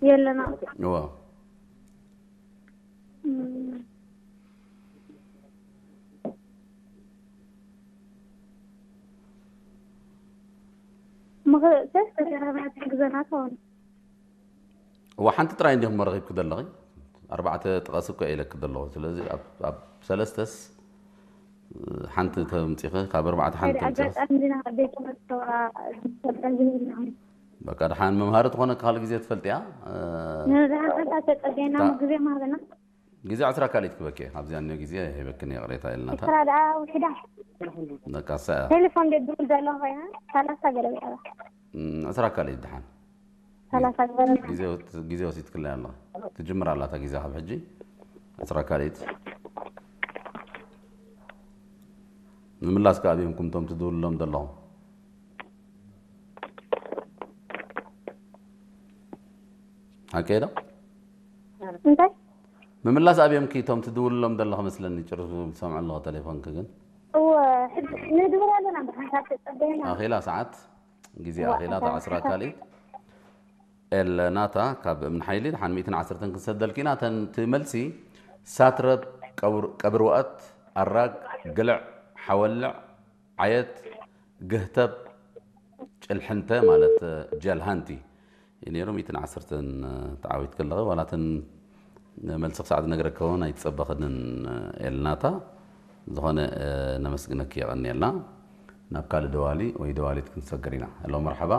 የለና። እዎ። እም፣ ምኽእሰስ ተዘራርባ ትሕግዘና ትኸውን። እዋ፣ ሓንቲ ጥራይ እንዲኹም መረኺብኪ ዘለኺ። ኣርባዕተ ጥቐስ እኮ ኢለኪ ዘለኹ። ስለዚ ኣብ ኣብ ሰለስተስ ሓንቲ ተምፂኺ፣ ካብ ኣርባዕተ ሓንቲ ሓደ ተምፂኺ። ኣጋጣሚ ዲና ቤት ትምህርቲ ተዋ ዝሰበ ዝህብና። በቃ፣ ደሓን መምሃሪ ትኾነ ካልእ ግዜ ትፈልጥያ። እ፣ ንዝሓፈታ ተጸገና ታ- ግዜ ማህበና። ግዜ ዕስራ ካልኢት ክበኪ፣ ኣብዚኣ እኒኦ ግዜ ሂበክን ይቕሬታ ኢልናታ። ስራ ደኣ ውሕዳ። በቃ፣ እሳ እያ። ቴሌፎን ደድሩ ዘሎ ኮይና ሰላሳ ገለ ብዕባ። እም፣ ዕስራ ካልኢት ደሓን። ሰላሳ ዝበረ ግዜ ወት-፣ ግዜ ወሲድክላ ኣለኻ። ትጅምር ኣላታ ግዜ ካብ ሕጂ። ዕስራ ካልኢት። ምምላስ ከኣ ኣብዮምኩም እቶም ትድውልሎም ዘለኹም። ሓቀይ ዶ? እንታይ? ምምላስ ኣብዮምኪ እቶም ትድውልሎም ዘለኹ መስለኒ። ጭርሱ ዝሰምዑ ኣለኹ ቴሌፎንኪ ግን። እወ፣ ሕጂ ንድውል ኣለና፣ ብሓንሳብ ተጸበየና። ኣኺላ ሰዓት፣ ግዜ እወ፣ ኣኺላ፣ እታ ዕስራ ካልኢት። ኤለናታ ካብ እምኒ ሓይሊ፣ ደሓን ሚእትን ዓሰርተን ክንሰደልኪ ኢና። እተን እቲ መልሲ ሳትረብ፣ ቀብር-፣ ቀብርዋኣት፣ ኣራግ፣ ግልዕ፣ ሓወልዕ፣ ዓየት፣ ግህተብ፣ ጭልሕንተ ማለት ጀልሃንቲ እዩ ነይሩ። ሚእትን ዓሰርተን ተዓዊትኪ ኣለኺ። ዋላ እተን መልሲ ክሳዕ ዝነግረኪ እውን ኣይትጸበኽንን ኤልናታ። ዝኾነ ነመስግነኪ፣ የቐንየልና። ናብ ካልእ ደዋሊ ወይ ደዋሊት ክንሰግር ኢና። ሄሎ፣ መርሓባ።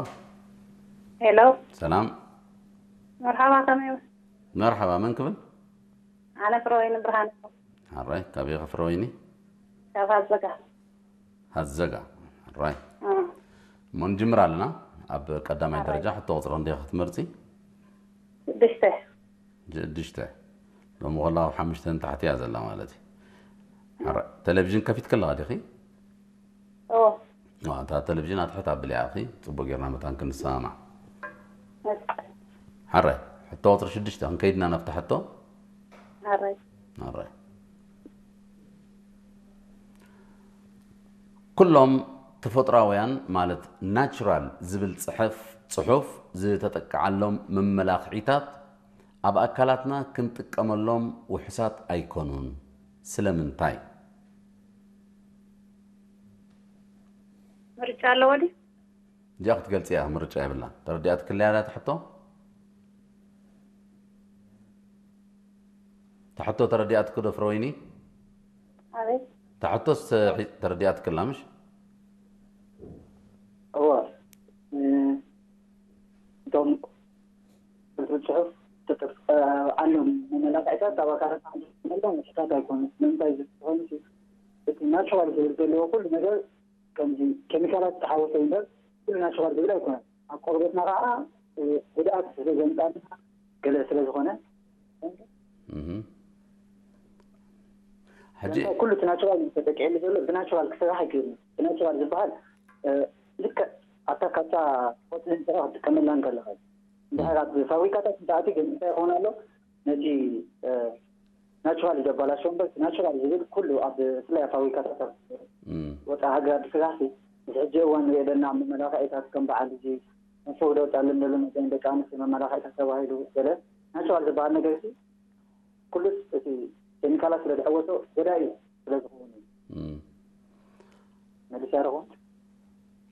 ሄሎ፣ ሰላም። መርሓባ፣ ከመይ? መርሓባ፣ መን ክብል? ኣነ ፍረወይኒ ብርሃን። ሓራይ፣ ካበይ ኢኻ ፍረወይኒ? ካብ ሃዘጋ። ሃዘጋ። ሓራይ። እ። እሞ ንጅምር ኣለና። ኣብ ቀዳማይ ሓራይ። ደረጃ ሕቶ ቁጽሪ ክንደይ ኢኻ ክትመርጺ? ሽዱሽተ። ሽዱሽተ። ሎሚ ከላ ኣብ ሓሙሽተ ንታሕቲ እያ ዘላ ማለት እዩ። ሓራይ። ቴሌቪዥን ከፊትኪ ኣለኻ ዲኺ? ኦ። ዋ፣ እታ ቴሌቪዥን ኣትሕት ኣብልያ፣ እኺ፣ ጽቡቅ ጌርና መታን ክንሰማማዕ። እሺ። ሓራይ፣ ሕቶ ቁጽሪ ሽዱሽተ፣ ክንከይድና ናብታ ሕቶ? ሓራይ። ሓራይ። ኩሎም ተፈጥሮኣውያን ማለት ናቹራል ዝብል ጽሕፍ-፣ ጽሑፍ ዝተጠቅዓሎም መመላኽዒታት ኣብ ኣካላትና ክንጥቀመሎም ውሑሳት ኣይኮኑን። ስለምንታይ? ምርጫ ኣለዎ ድዩ? እዚኣ ክትገልጽ እያ፣ ምርጫ የብላን። ተረዲኣትክለያ እታ ሕቶ? እታ ሕቶ ተረዲኣትኪ ዶ ፍረወይኒ? ኣቤት። እታ ሕቶስ ሒ-፣ ተረዲኣትክላ ምሽ? እወ። እ፣ እቶም ጽሑፍ ተጠቅዓሎም መመላኽዒታት ኣብ ኣካላትና ክንጥቀመሎም ውሑሳት ኣይኮኑን። ንምንታይ ዝኸውን፣ እቲ ናቹራል ዝብል ዘለዎ ኩሉ ነገር ከምዚ ኬሚካላት ዝተሓወሶ እምበር ኩሉ ናቹራል ዝብል ኣይኮነን። ኣብ ቆርበትና ከዓ፣ እ፣ ጉድኣት ስለ ዘምጻልና ገለ ስለ ዝኾነ። እህ። ሕጂ ንምንታይ ኩሉ እቲ ናቹራል ተጠቂዕሉ ዘሎ ብናቹራል ክስራሕ ኣይክእልን። እቲ ናቹራል ዝበሃል፣ እ፣ ልክዕ ኣብታ ካብታ ቆጽሊ እንስራ ክትጥቀመላ እንከለኻ እዩ። እንድሕር ኣብ ፋብሪካታት እንተኣትዩ ግን እንታይ ይኸውን ኣሎ? ነቲ፣ እ፣ ናቹራል ዘበላሽዎ እምበር፣ ናቹራል ዝብል ኩሉ ኣብ፣ ብፍላይ ኣብ ፋብሪካታት ኣብ እም፣ ወፃኢ ሃገራት ዝስራሕ ሲ፣ እዚ ሕጂ እዋን ንሪኦ ዘለና ኣብ መመላኽዒታት ከም በዓል እዚ መፈውዶ ጣልን ዘሎ መዘን ደቂ ኣንስትዮ መመላኽዒታት ተባሂሉ ገለ ናቹራል ዝበሃል ነገር ሲ፣ ኩሉስ እቲ ኬሚካላት ስለ ዝሐወሶ ጎዳኢ ስለ ዝኸውን እዩ። እም። መሊስ ያደረኹ።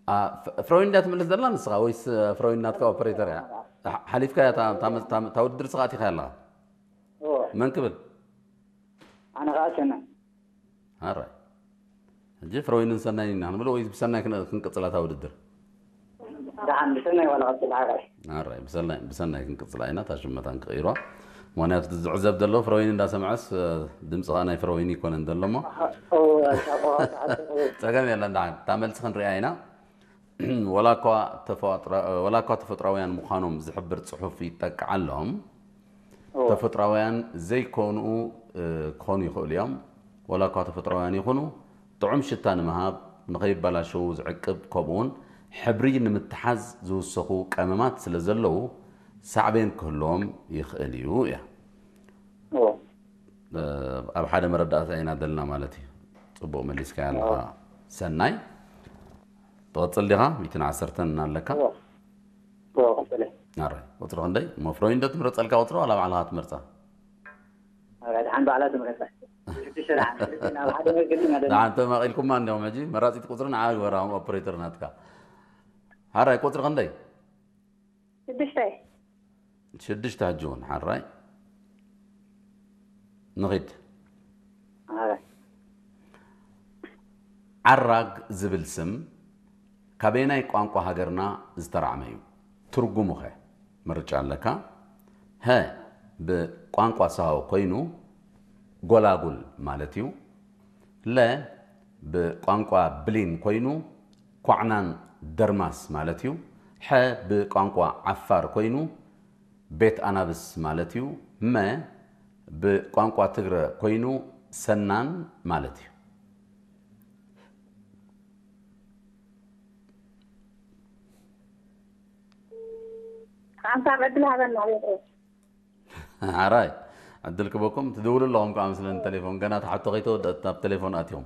ኣ፣ ፍ-፣ ፍሮይን እንዳ ትምልስ ዘላ ንስኻ ወይስ ፍሮይን ናትካ ኦፐሬተር እያ? ሓ-፣ ሓሊፍካ እያ እታ፣ እታ፣ እታ፣ እታ ውድድር ስኻ ኣቲኻ ኣለኻ? እዎ። መን ክብል? ኣነ ከዓ ሰናይ። ኣራይ። ሕጂ ፍሮይንን ሰናይን ኢና ክንብል ወይስ ብሰናይ ክን-፣ ክንቅጽላ እታ ውድድር? ደሓን ብሰናይ ዋላ ቀጽል ሓራይ። ኣራይ፣ ብሰናይ፣ ብሰናይ ክንቅጽላ ኢና፣ እታ ሽመታን ክቕይሯ። ምኽንያቱ እቲ ዝዕዘብ ዘሎ ፍሮይን እንዳሰምዐስ፣ እ፣ ድምጺ ኸኣ ናይ ፍሮይን ይኮነን ዘሎ እሞ። እዎ፣ እታ ቆራጽ ሓቂ እዎ። ጸገም የለን፣ ደሓን። እታ መልሲ ክንሪኣ ኢና። ወላ እኳ ተፈጥሮ-፣ ወላ እኳ ተፈጥሮኣውያን ምዃኖም ዝሕብር ጽሑፍ ይጠቅዓሎም፣ እዎ። ተፈጥሮኣውያን ዘይኮኑ፣ እ፣ ክኾኑ ይኽእሉ እዮም። ወላ እኳ ተፈጥሮኣውያን ይኹኑ፣ ጥዑም ሽታ ንምሃብ፣ ንኸይበላሸዉ ዝዕቅብ፣ ከምኡውን ሕብሪ ንምትሓዝ ዝውሰኹ ቀመማት ስለ ዘለዉ፣ ሳዕቤን ክህልዎም ይኽእል እዩ እያ። እዎ። እ፣ ኣብ ሓደ መረዳእታ ኢና ዘለና ማለት እዩ። ጽቡቕ መሊስካያ ኣለኻ። ሰናይ። ትቐጽል ዲኻ? ሚእትን ዓሰርተን እናለካ። እዎ። እዎ፣ ቀጽለ። ኣራይ፣ ቁፅሪ ክንደይ? እሞ ፍሮይን ዶ ትምረፀልካ ቁፅሪ ዋላ ባዕልኻ ትመርፃ? ኣራይ፣ ደሓን ባዕላ ትምረፃ። ሽዱሽተ ደሓን፣ ሽዱሽተ ናብ ሓደ መግቢ ማለት ነው። ደሓን ተማቒልኩማ እንዲኹም ሕጂ። መራፂት ቁፅሪ ንዓ ግበራ፣ ኦፕሬተር ናትካ። ሓራይ፣ ቁፅሪ ክንደይ? ሽዱሽተ። ሽዱሽተ ሕጂ እውን ሓራይ። ንኺድ። ኣራይ። ዓራግ ዝብል ስም ካበየናይ ቋንቋ ሃገርና ዝተራዕመ እዩ? ትርጉሙኸ? ምርጫ ኣለካ። ሀ ብቋንቋ ሳሆ ኮይኑ ጎላጉል ማለት እዩ። ለ ብቋንቋ ብሊን ኮይኑ ኳዕናን ደርማስ ማለት እዩ። ሐ ብቋንቋ ዓፋር ኮይኑ ቤት ኣናብስ ማለት እዩ። መ ብቋንቋ ትግረ ኮይኑ ሰናን ማለት እዩ። ሓንሳብ ዕድል ሃበና ቤት። ሓራይ ዕድል ክበኩም ትድውሉ ኣለኹም ከዓ ምስለን ቴሌፎን ገና ተሓቶ ከይተወደአት ናብ ቴሌፎን ኣትዮም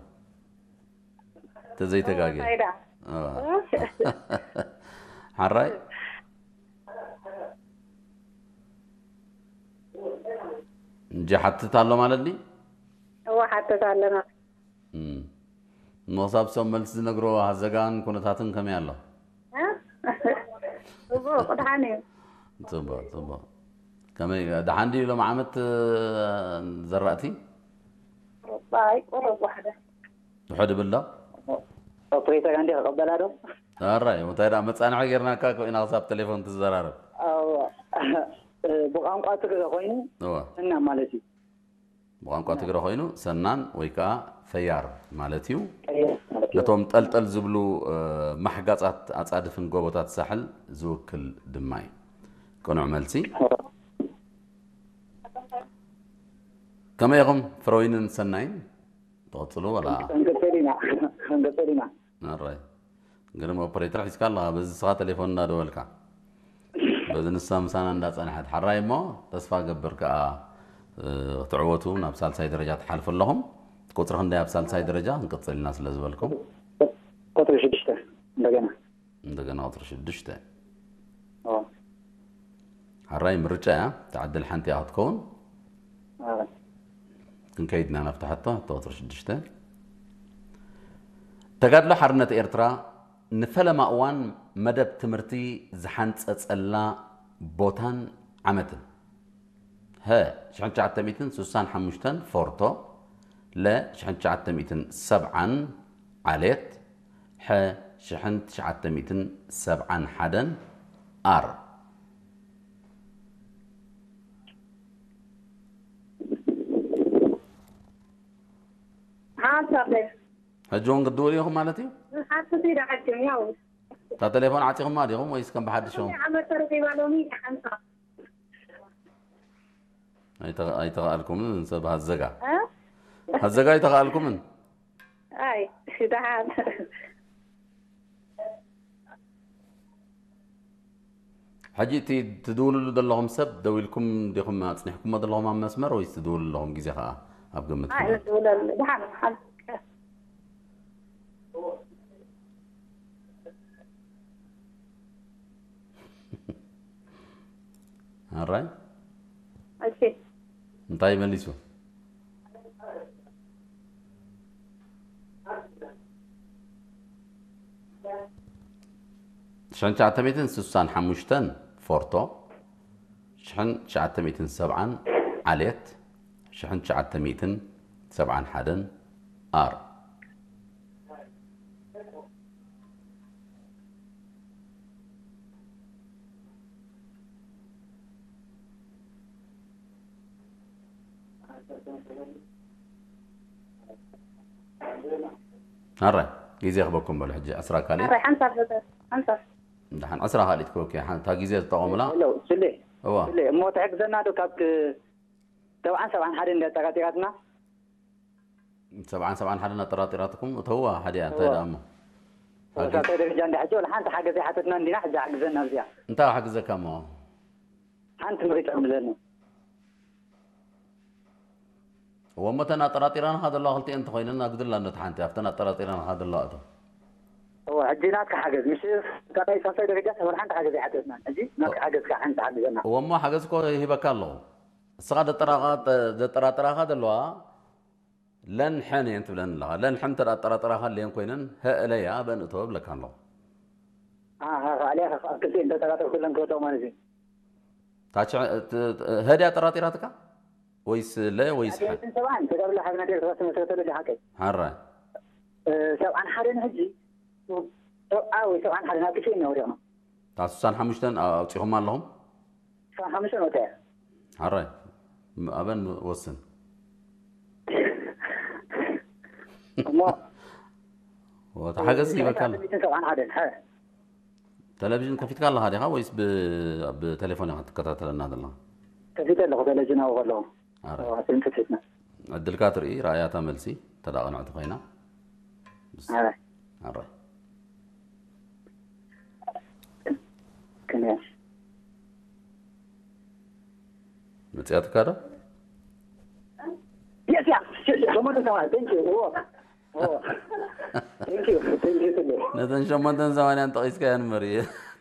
ተዘይተጋግየ ሳይዳ። ሓራይ እንጂ ሓትት ኣሎ ማለት ድዩ? እወ ሓተት ኣለና። እም። እሞ ክሳብ ሰም መልሲ ዝነግሮ ሃዘጋን ኩነታትን ከመይ ኣሎ? እ? ጽቡቕ ድሓን እዩ። ጽቡቕ ጽቡቕ። ከመይ ደሓን ድዩ ሎም ዓመት ዘራእቲ? ሩባይ ቁሩብ ዋሕደ። ውሕድ ይብል ዶ? ኦፕሬተር እንዲ ክቐበላ ዶ? ኣራይ እንታይ ደኣ መጻንሒ ጌርናካ እኮ ኢና ክሳብ ቴሌፎን ትዘራረብ። ብቋንቋ ትግረ ኮይኑ እወ። እና ማለት እዩ። ብቋንቋ ትግረ ኮይኑ ሰናን ወይ ከዓ ፈያር ማለት እዩ። ቀይር ማለት እዩ። ነቶም ጠልጠል ዝብሉ ማሕጋፃት ኣፃድፍን ጎቦታት ሳሕል ዝውክል ድማ እዩ። ቅኑዕ መልሲ። ከመይ ኢኹም ፍረወይንን ሰናይን? ትቐፅሉ ወላ? ክንቅፅል ኢና። ክንቅፅል ኢና። ኣራይ ግን ኦፕሬተር ሒዝካ ኣለኻ በዚ ስኻ ቴሌፎን እንዳደወልካ በዚ ንሳ ምሳና እንዳፀንሐት ሓራይ እሞ ተስፋ ገብር ከዓ ክትዕወቱ ናብ ሳልሳይ ደረጃ ትሓልፉ ኣለኹም። ቁፅሪ ክንደይ ኣብ ሳልሳይ ደረጃ ክንቅፅል ኢና ስለ ዝበልኩም ቁፅሪ ሽዱሽተ እንደገና እንደገና ቁፅሪ ሽዱሽተ። ሓራይ ምርጫ እያ። ተዓድል ሓንቲ እያ ክትከውን። ክንከይድና ናብቲ ሕቶ ሕቶ ቁፅሪ ሽዱሽተ። ተጋድሎ ሓርነት ኤርትራ ንፈለማ እዋን መደብ ትምህርቲ ዝሓንፀፀላ ቦታን ዓመትን? ሀ ሽሕን ትሽዓተ ሚእትን ስሳን ሓሙሽተን ፎርቶ፣ ለ ሽሕን ትሽዓተ ሚእትን ሰብዓን ዓሌት፣ ሐ ሽሕን ትሽዓተ ሚእትን ሰብዓን ሓደን ኣር። ሓንሳብ ሕጂ እውን ክትድውሉ ኢኹም ማለት እዩ? ሓንቲ ዳ ዓጅም ያው እታ ቴሌፎን ዓፂኹማ ዲኹም ወይስ ከም ብሓድሾም? ዓመት ተረኺባ ሎሚ ሓንሳብ ኣይተ- ኣይተኸኣልኩምን ሰብ ሃዘጋ እ? ሃዘጋ ኣይተኸኣልኩምን። ኣይ ደሓን ሕጂ እቲ ትድውልሉ ዘለኹም ሰብ ደው ኢልኩም ዲኹም ኣፅኒሕኩሞ ዘለኹም ኣብ መስመር ወይስ ትድውሉ ኣለኹም ግዜ ከዓ ኣብ ግምት ኣይ ክእትው? ንድውለሉ ደሓን ሓንቲ ኣራይ እሺ እንታይ መሊሱ? ሽሕን ትሽዓተ ሚእትን ስሳን ሓሙሽተን ፎርቶ፣ ሽሕን ትሽዓተ ሚእትን ሰብዓን ዓሌት፣ ሽሕን ትሽዓተ ሚእትን ሰብዓን ሓደን ኣር። ኣረ ግዜ ክበኩም በሉ ሕጂ ዕስራ ካልኢት ኣረ ሓንሳብ ዘተ ሓንሳብ ደሓን ዕስራ ካልኢት ክበኩ እያ። ሓንታ ግዜ ዝጠቐሙላ ሄሎ ስሌ እዋ ስሌ እሞ ትሕግዘና ዶ ካብ ሰብዓን ሰብዓን ሓደ እንዳ ጠራጢራትና ሰብዓን ሰብዓን ሓደ እናጠራጢራትኩም እተዋ ሓደ እያ እንታይ ደኣ እሞ ወሳተ ደረጃ እንዳ ሕጂ ወላ ሓንቲ ሓገዝ ኣይሓተትና እንዲና ሕጂ ሓግዘና ኣብዚኣ እንታይ ሓግዘካ እሞ ሓንቲ ምርጫ ምዘኒ እወ እሞ እተን ኣጠራጢራንኻ ዘለዋ ክልቲኤን እንተኾይነን ኣግድላ ነቲ ሓንቲ ኣብተን ኣጠራጢራንኻ ዘለዋ እቶ እወ፣ ሕጂ ናትካ ሓገዝ፣ ምሽ ካልኣይ ሳልሳይ ደረጃ ሰፈር ሓንቲ ሓገዝ ኣይሓገዝናን። ሕጂ ናትካ ሓገዝ ከዓ ሓንቲ ሓግዘና። እወ፣ እሞ ሓገዝ እኮ ይህበካ ኣለኹ። እስኻ ዘጠራጣ-፣ ዘጠራጠራኻ ዘለዋ ለን ሐን እየን ትብለን ኣለኻ። ለን ሐን እንተ ደኣ ጠራጠራኻ ሌን ኮይነን፣ ሀ እለያ በን እቶ እብለካ ኣለኹ። አ፣ አ፣ ካልኣይ ካብ ክልቲኤን እንተጠራጠርኩ ለን ክወድቕ ማለት እዩ። ታች-፣ ት-፣ ት-፣ ሀ ድያ ጠራጢራትካ? ወይስ ለ ወይስ ሐ? ሰብዓን፣ ተጋብላ ሓብና ደርሳ ተመስረተሉ ዲኻ ቀይ? ሓራይ። እ፣ ሰብዓን ሓደን ሕጂ ሰብዓ ወይ ሰብዓን ሓደን ኣብ ክልቲኤን ኢና ወዲቕና። እታ ስሳን ሓሙሽተን ኣ-፣ ኣውጺኹማ ኣለኹም? ስሳን ሓሙሽተን ወጺኣ። ሓራይ። ም-፣ ኣበን ወስን። እሞ ወ-፣ ተሓገዝ ይበካ ኣሎ። ሰብዓን ሓደን፣ ሐ። ቴሌቪዥን ከፊትካ ኣለኻ ዲኻ ወይስ ብ-፣ ብቴሌፎን ኢኻ ትከታተለና ዘለኻ? ከፊተ ኣለኹ፣ ቴሌቪዥን ኣብኡ ከለኹ። ኣረ። ኣዎ፣ ፊልም ከፊትና። ዕድልካ ትርኢ፣ ረኣያታ መልሲ፣ ተዳቕንዕቲ ኮይና። ምስ-፣ ኣረ። ኣረ። ክንያ። መጽያትካ ዶ? የስ፣ ያ። ሸሞንተ ሰማንያ፣ thank you። እዎ። እዎ። Thank you፣ thank you ትብሎ። ነተን ሸሞንተን ሰማንያን ጠቒስካየን እምበር፣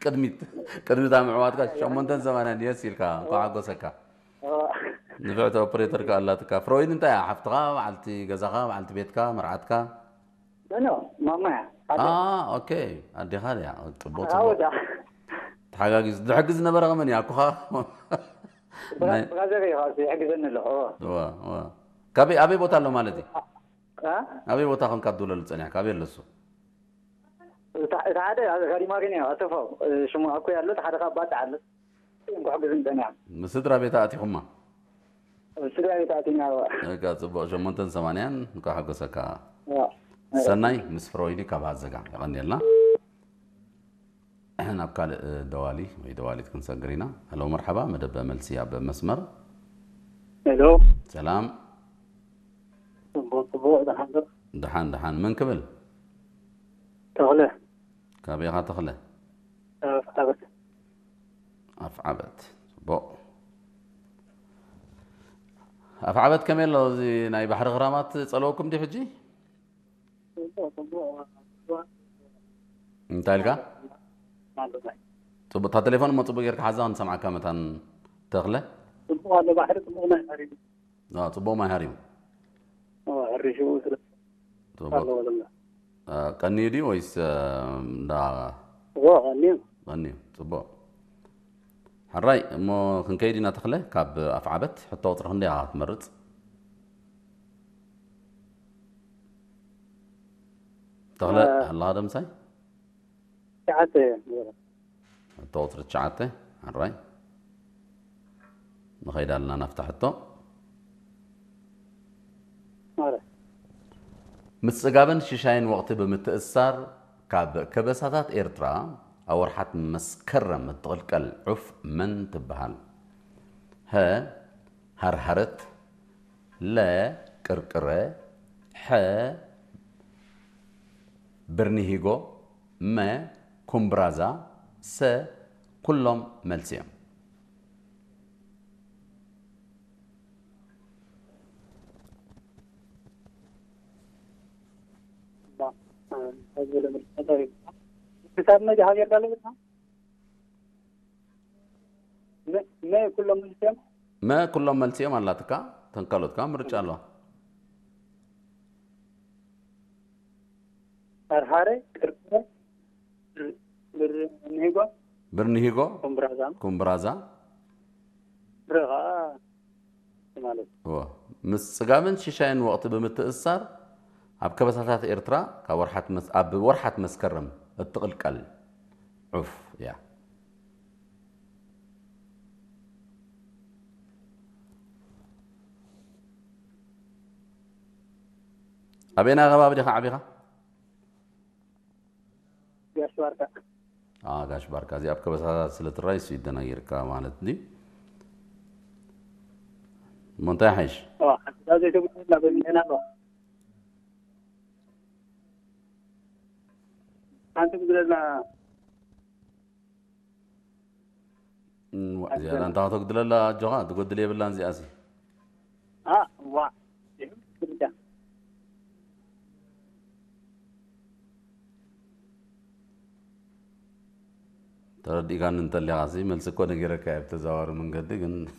ቅድሚት፣ ቅድሚት ኣብ ምዕዋትካ ሸሞንተን ሰማንያን የስ ኢልካ፣ እንኳዕ ሓጎሰካ። እዎ። ንፍዕቲ ኦፕሬተር ከኣ ኣላትካ። ፍሮይድ እንታይ እያ? ሓፍትኻ፣ በዓልቲ ገዛኻ፣ በዓልቲ ቤትካ፣ መርዓትካ? ኖ፣ ኖ፣ ማማ እያ። ኣደ። ኣ፣ ኦኬ። ኣዴኻ ድያ? ጽቡቕ፣ ኣዎ፣ ጽቡቕ። ዳ። ተሓጋጊዝ-፣ ዝሕግዝ ዝነበረ ከመን እዩ? ኣኩኻ? ብራ-፣ ናይ ብራዘር እዩ፣ ካብዚ ይሕግዘኒ ኣሎ። እዎ። እዋ፣ እዋ። ካበይ፣ ኣበይ ቦታ ኣሎ ማለት እዩ? ኣ? ኣበይ ቦታ ኮንካ ትድውለሉ ጸኒሕካ? ኣበይ ኣሎ እሱ? እታ፣ እታ ሓደ ኣብ ጋሪማሪን እያ፣ ኣሰፋው፣ እ፣ ሽሙ ኣኩይ ኣሎ፣ እቲ ሓደ ካብ ባጽዕ ኣሎ። እዮም ክሕግዙኒ ጸኒሖም። ምስ ስድራ ቤት ኣእቲኹማ? ኣብ ስድራ ቤት ኣእቲና፣ እዋ። በቃ ጽቡቕ፣ ሸሞንተን ሰማንያን እንኳዕ ሓጎሰካ። እዋ። ሰናይ ምስ ፍሮይዲ ካብ ሃዘጋ፣ የቐንየልና። ናብ ካልእ ደዋሊ ወይ ደዋሊት ክንሰግር ኢና። ሄሎ፣ መርሓባ፣ መደብ መልሲ ኣብ መስመር። ሄሎ። ሰላም። ጽቡቕ፣ ጽቡቕ፣ ደሓን ዶ? ደሓን፣ ደሓን። መን ክብል? ተኽለ። ካበይ ኢኻ ተኽለ? ኣፍዓበት። ኣፍዓበት። ጽቡቕ። ኣፍዓበት ከመይ ኣሎ? እዚ ናይ ባሕሪ ክራማት ጸለወኩም ድዩ ሕጂ? ጽቡቕ፣ ጽቡቕ። እንታይ ኢልካ? ጽቡቕ። እታ ቴሌፎን እሞ ጽቡቕ ጌርካ ሓዛ ክንሰምዓካ መታን ተኽለ። ጽቡቕ ኣሎ ባሕሪ፣ ጽቡቕ ናይ ባሕሪ። ኣዎ፣ ጽቡቕ ማይ ሃሪሙ። ኣዎ፣ ሕርሽኡ ስለ ጽቡቕ። ኣለዎ ዘሎ። እ፣ ቀንዩ ድዩ ወይስ፣ እ፣ እንዳ እዎ፣ ቀንዩ። ቀንዩ፣ ጽቡቕ። ሕራይ፣ እሞ ክንከይድ ኢና ተኽለ፣ ካብ ኣፍዓበት ሕቶ ቁጽሪ ክንደይ ኢኻ ክትመርጽ? ተኽለ፣ እ፣ ኣለኻ ዶ ምሳይ? ትሽዓተ እየ። ሕቶ ቁጽሪ ትሽዓተ፣ ሕራይ። ንኸይድ ኣለና ናብታ ሕቶ። ማረ። ምስ ጽጋብን ሽሻይን ወቕቲ ብምትእስሳር፣ ካብ ከበሳታት ኤርትራ ኣብ ወርሓት መስከረም እትቕልቀል ዑፍ መን ትበሃል? ሀ፣ ሃርሃረት፣ ለ፣ ቅርቅረ፣ ሐ፣ ብርኒሂጎ፣ መ፣ ኩምብራዛ፣ ሰ፣ ኩሎም መልሲ እዮም። ክሳብ መቼ ሃገር ኣለና? መ-፣ መ ኩሎም መልሲ እዮም? መ ኩሎም መልሲ እዮም ኣላትካ፣ ተን ካልኦት ከኣ ምርጫ ኣለዋ። ሃርሃረ፣ ቅርቅረ፣ ብር-፣ ብርኒሂጎ፣ ብርኒሂጎ፣ ኩምብራዛ። ኩምብራዛ። ብረ ኸኣ ማለት እዩ። እወ። ምስ ጽጋብን ሽሻይን ወቕቲ ብምትእስሳር፣ ኣብ ከበሳታት ኤርትራ ካብ ወርሓት መስ-፣ ኣብ ወርሓት መስከረም እትቕልቀል ዑፍ እያ። ኣበየናይ ከባቢ ዲኻ ዓቢኻ? ጋሽ ባርካ። አ፣ ጋሽ ባርካ፣ እዚ ኣብ ከበሳታት ስለ ትራይ እሱ ይደናጊርካ ማለት ድዩ? እሞ እንታይ ሓይሽ? ኦ፣ ሓንቲ ዘይተጉድለና በሚንተና ኣሎ። ሓንቲ ጉድለልና። እም፣ ዋ፣ እዚኣ እንታ ከተጉድለላ ኣጆኻ፣ ትጎድል የብላን እዚኣሲ። አ፣ ዋ። ይሁን፣ ብቻ። ተረዲእካኒ እንተሊኻ ሲ መልሲ እኮ ነጊረካ እየ ብተዘዋዋሪ መንገዲ። ግን